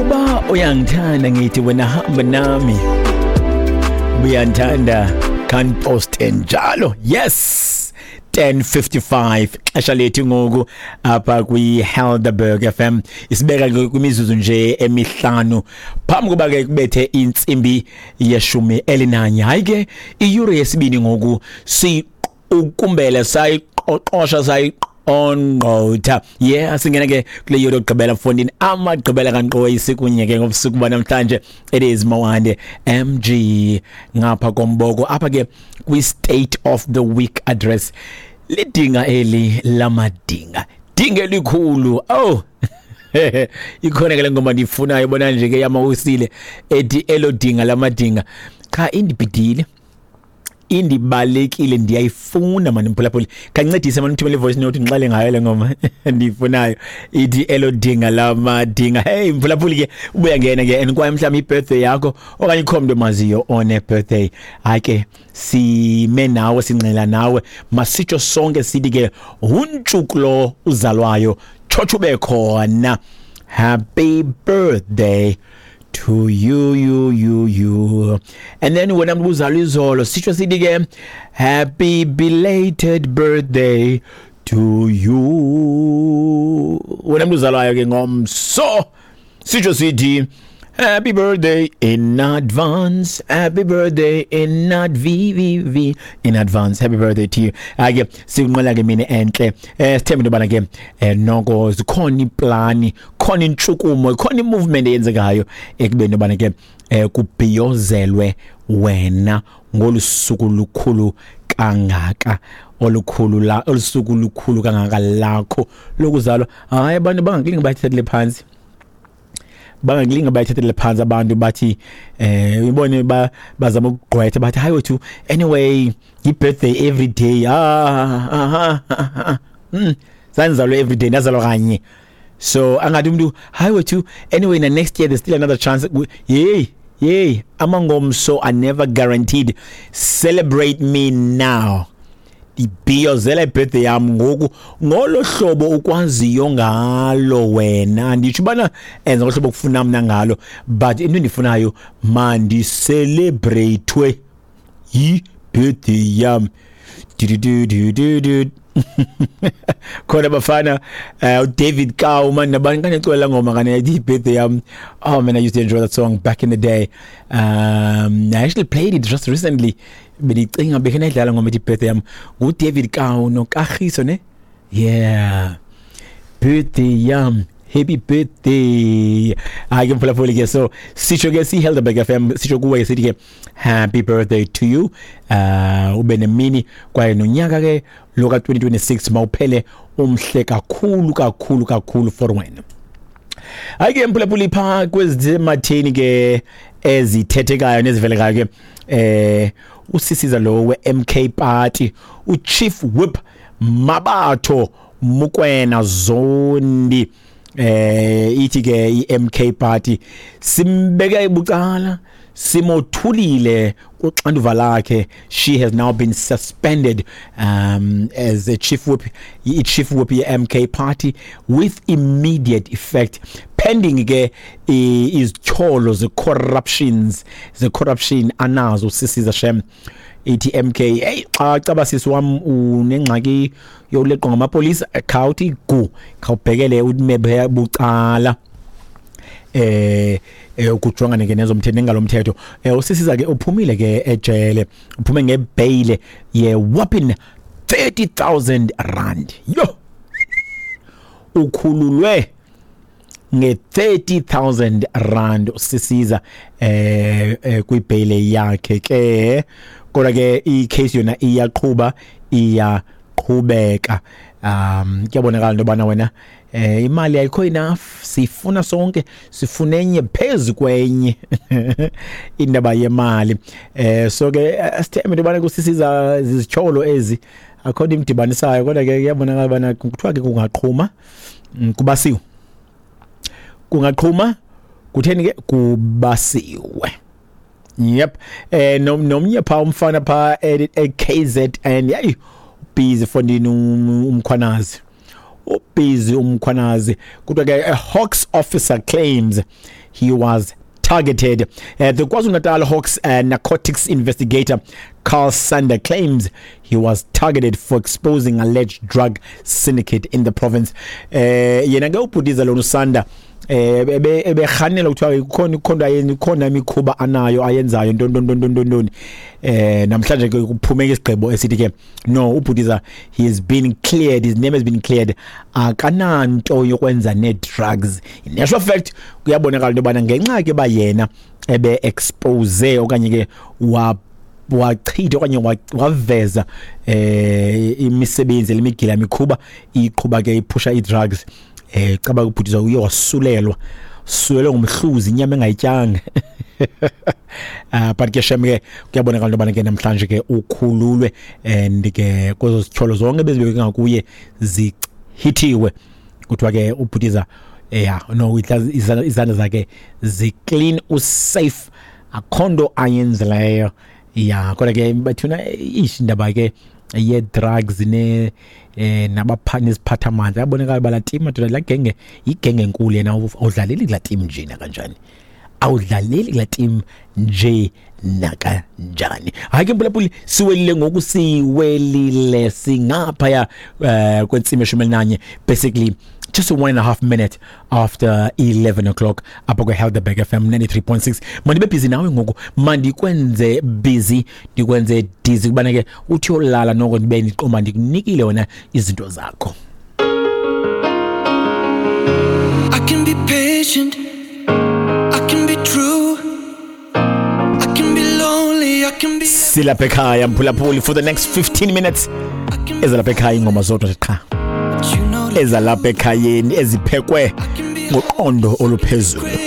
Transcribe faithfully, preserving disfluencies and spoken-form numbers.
Uba uyangithanda, ngithi wena hamba nami. Uyandithanda, kanpost njalo. Yes, ten fifty-five xesha lethu ngoku apha kwi-Helderberg F M. Isibeka ke kwimizuzu nje emihlanu phambi kuba ke kubethe intsimbi yeshumi elinanye. Hayi ke, iyure yesibini ngoku siqukumbele, sayiqoqosha, sayiqongqotha. Yeah, singena ke kule yure yokugqibela mfondini, amagqibela kankqoyi, sikunye ke ngobusuku banamhlanje. It is Mawande M G ngapha komboko apha ke kwi-State of the Week Address. Lidinga eli lamadinga, dinga elikhulu. Oh, ikhona ke le ngoma ndiyifunayo, bona nje ke, yamawusile, ethi "Elo Dinga Lamadinga". Cha, indibhidile, indibalekile, ndiyayifuna mani. Mphulaphuli, kancedise mani, uthumele ivoice note, ndixele ngayo le ngoma ndiyifunayo, ithi "Elo Dinga Lamadinga". Hey mphulaphuli ke, ubuya ngena ke and kwaye mhlawumbi ibirthday yakho okanye ikho mntu omaziyo one birthday, hayi ke, sime nawe, singxela nawe. Masitsho sonke sithi ke huntshukulo uzalwayo, tshotsho ube khona. Happy birthday to you, you, you, you. And then wena mntu uzalwa izolo, sitsho sithi ke happy belated birthday to you. Wena mntu uzalwayo ke ngomso, sitsho sithi happy birthday in advance, happy birthday in adv in advance, happy birthday to you. Ake sikunqwela ke mina enhle. eh sithembe into bana ke eh, noko zikhona iplani, khona intshukumo, khona imovement eyenzekayo ekubeni bana ke eh, kubhiyozelwe wena ngolusuku lukhulu kangaka, olukhulu la olusuku lukhulu kangaka lakho lokuzalwa. Hayi, abantu bangakulinga bayithathele phansi, bangakulinga bayithathele phansi abantu, bathi eh ubone ba bazama ukugqwetha, bathi hayi wethu, anyway i birthday every day. Ah aha, ah, mm sanzalwe every day, ndazalwa kanye. So angathi umuntu hayi wethu, anyway na next year there's still another chance. Yey yey, amangomso are never guaranteed. Celebrate me now, ibhiyozela ibirthday yam ngoku ngolo hlobo ukwaziyo ngalo wena. Nditsho ubana enza ngohlobo kufuna mna ngalo, but into endifunayo, mandicelebrate yi-birthday yam. Du-du-du-du-du. Khona bafana uh, David Kau man nabantu kanecwela ngoma kane i-birthday yam. Oh man, I used to enjoy that song back in the day. um I actually played it just recently, bendicinga bekhe ndayidlala ngoma ethi "Birthday Yam", nguDavid Kau noKagiso ne. Yeah, birthday yam, happy birthday. Hayi ke mphulaphuli ke, so sitsho ke si-Helderberg F M, sitsho kuwe sithi ke happy birthday to you. uh ube nemini kwaye nonyaka ke lo ka twenty twenty-six mawuphele umhle kakhulu kakhulu kakhulu for wena. Hayi ke mphulaphuli, pha kwezematheni ke ezithethekayo nezivelekayo ke, eh usisiza lo we-M K Party, uChief Whip Mabatho Mukwena Zondi, eh ithi ke i-M K Party simbeke bucala, simothulile kuxanduva lakhe. She has now been suspended um as a chief whip, i-chief whip ye-M K Party, with immediate effect, pending ke izityholo ze-corruptions ze-corruption anazo sisiza shem. Ithi M K, hey, xa caba sisi wam unengxaki yokuleqwa ngamapolisa, khawuthi gu, khawubhekele ume bucala eh eh ukujongana ke nezomthetho nengalomthetho. eh usisiza ke uphumile ke ejele, uphume ngebail ye whopping thirty thousand rand. Yo, ukhululwe nge thirty thousand rand usisiza eh, eh kwibail yakhe ke. Kodwa ke icase yona iyaqhuba, iyaqhubeka. um kuyabonakala into bana wena eh imali ayikho enough, sifuna sonke, sifuna enye phezulu kwenye indaba yemali. eh so ke sithembe into bana kusisiza izityholo ezi akho nto imdibanisayo, kodwa ke kuyabonakala bana kuthiwa ke kungaqhuma kubasiwe, kungaqhuma kutheni ke kubasiwe. Yep, eh nomnye pha umfana pha e K Z N, yayi busy fondini, uMkhwanazi. Ubhizi uMkhwanazi. Kodwa ke a Hawks officer claims he was targeted. Uh, the KwaZulu-Natal Hawks uh, narcotics investigator Carl Sander claims he was targeted for exposing alleged drug syndicate in the province. Eh yena ke ubhutiza lona uSander eh ebe eberhanela kuthiwa kukhona ikhona ayenza, ikhona imikhuba anayo ayenzayo, nton nton nton nton nton. eh namhlanje ke kuphumeka isigqibo esithi ke no, ubhutiza, he has been cleared, his name has been cleared, akananto yokwenza ne drugs. In actual fact, kuyabonakala into yobana ngenxa ke ba yena ebe expose okanye ke wa wachitha okanye waveza eh imisebenzi lemigila mikhuba iqhuba ke iphusha i-drugs, eh caba ubhutiza uye wasulelwa, sulelwe ngumhluzi inyama engayityanga. Ah, but ke shem ke kuyabonakala into yobana ke namhlanje ke ukhululwe and ke kwezo zityholo zonke bezibekwe ngakuye zichithiwe. Kuthiwa ke ubhutiza, yeah, no, izandla zakhe zi-clean, usafe, akho nto ayenzileyo. Ya, kodwa ke bathuna ish indaba ke ye-drugs ne eh nabapha neziphathamandla, yabonakala bala team madoda, la genge igenge enkulu. Yena awudlaleli kula team nje nakanjani, awudlaleli kula team nje nakanjani. Hayi ke mpulaphuli, siwelile ngoku, siwelile, singaphaya eh kwentsimi eshumi elinanye, basically just one and a half minute after eleven o'clock apha kwe-Helderberg F M ninety-three point six. Mandibe busy nawe ngoku, mandikwenze busy, ndikwenze dizzy, kubana ke uthi uyolala noko ndibe ndiqomba ndikunikile wena izinto zakho. I can be patient, I can be true, I can be lonely, I can be Silapha ekhaya mphulaphuli for the next fifteen minutes. I can Ezalapha ekhaya ingoma zodwa nje qha, you know ezalapha ekhayeni eziphekwe I can be ngoqondo oluphezulu.